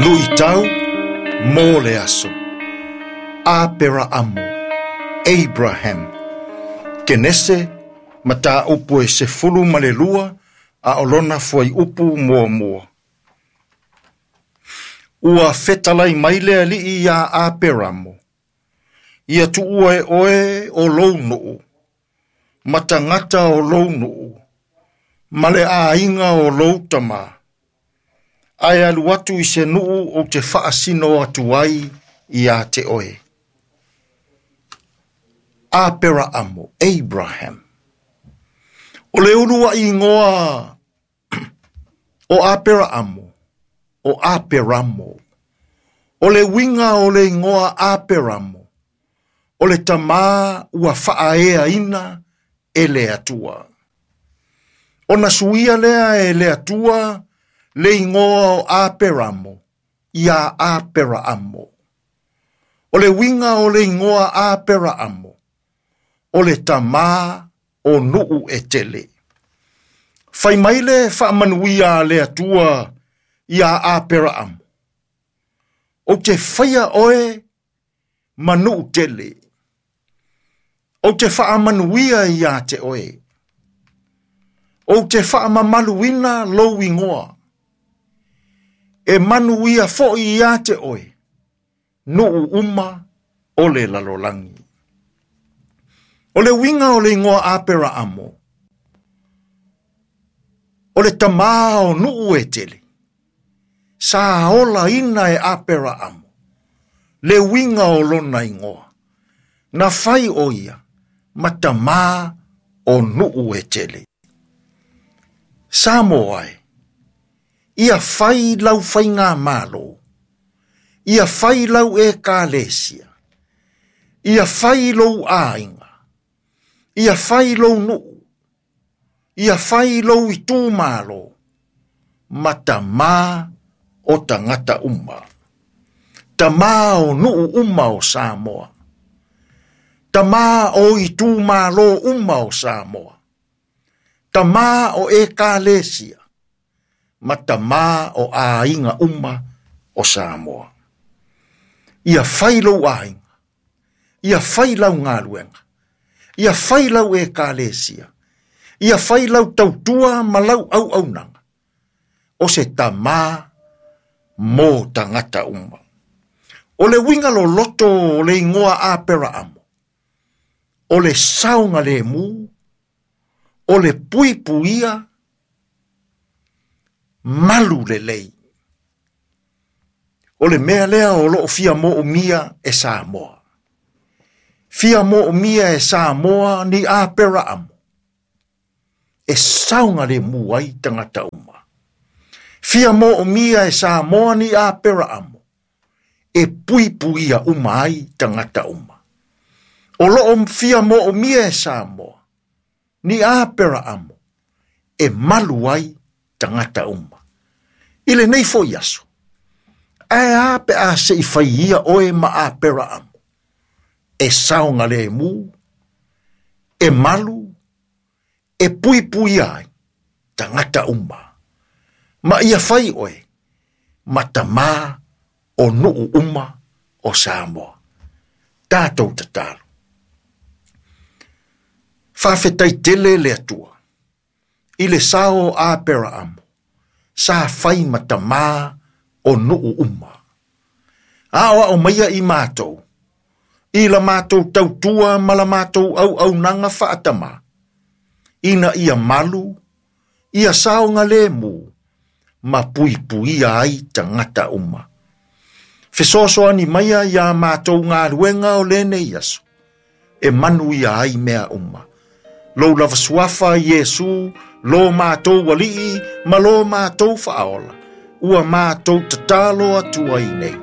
Luitau mo le aso. Aperaamo, Abraham. Kenese, mataupu e 12 a o lona fuaiupu muamua. Ua fetalai mai le Alii iā Aperamo, ia tuua e oe o lou nuu, ma tagata o lou nuu, ma le aiga o lou tamā, ae alu atu i se nuu ou te faasino atu ai ia te oe. Aperaamo, Abraham. O le uluai igoa o Aperaamo, o Aperamo. O le uiga o le igoa Aperamo, o le tamā ua faaeaina e le Atua. Ona suia lea e le Atua le igoa o Aperamo ia Aperaamo. O le uiga o le igoa Aperaamo, o le tamā o nuu e tele. Fai mai le faamanuia a le Atua ia Aperaamo, ou te faia oe ma nuu tele. Ou te faamanuia ia te oe. Ou te faamamaluina lou igoa. E manuia foi ia te oe, nuu uma o le lalolagi. O le uiga o le igoa Aperaamo, o le tamā o nuu e tele. Sa olaina e Aperaamo, le uiga o lona igoa. Na fai o ia, ma tamā o nuu e tele. Samoa e, ia fai lau faigamalo, ia fai lau ekalesia, ia fai lou aiga, ia fai lou nuu, ia fai lou itumalo, ma tamā o tagata uma. Tamā o nuu uma o Samoa. Tamā o itumalo uma o Samoa. Tamā o ekalesia, ma tamā o aiga uma o Samoa. Ia fai lou aiga, ia fai lau galuega, ia fai lau ekalesia, ia fai lau tautua ma lau auaunaga, o se tamā mo tagata uma. O le uiga loloto o le igoa Aperaamo, o le saogalemu, o le puipuia, malu lelei. O le mea lea o loo fia moomia e Samoa. Fia moomia e Samoa ni Aperaamo, e saogalemu ai tagata uma. Fia moomia e Samoa ni Aperaamo, e puipuia uma ai tagata uma. O loo fia moomia e Samoa ni Aperaamo, e malu ai tagata uma. I lenei foi aso, ae a pe a se i fai ia oe ma Aperaamo, e saogalemu, e malu, e puipuia ai tagata uma. Ma ia fai oe ma tamā o nuu uma o Samoa. Tatou tatalo. Faafetai tele le Atua, i le sao o Aperaamo, sa fai ma tamā o nuu uma. Aoao maia i matou, i la matou tautua ma la matou auaunaga faatamā, ina ia malu, ia saogalemu, ma puipuia ai tagata uma. Fesoasoani maia ia matou galuega o lenei aso, e manuia ai mea uma. Lou lava suafa Iesu, lo matou alii, ma lo matou faaola, ua matou tatalo atu ai nei.